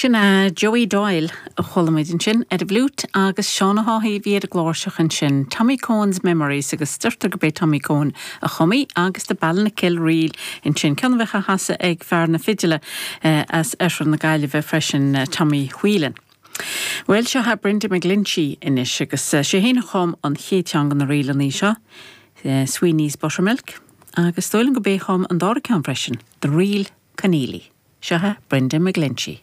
Sin é Joey Doyle a chuala muid ansin ar an bhfliúit agus Seán Ó hÁthaigh a bhí ar an gcláirseach ansin. Tommy Coen's Memories agus deirtear gurb é Tommy Coen a chum í agus The Ballinakill Reel ansin, ceann a bheadh á chasadh ag fear na fidile as oirthear na Gaillimhe freisin, Tommy Whelan. Bhuel, seo é Brenda McGlinchey anois agus sé féin a chum an chéad cheann de na ríleanna seo, Sweeney's Buttermilk, agus is dóigh liom gurb é a chum an dara ceann freisin, The Reel Conneely. Seo é Brenda McGlinchey.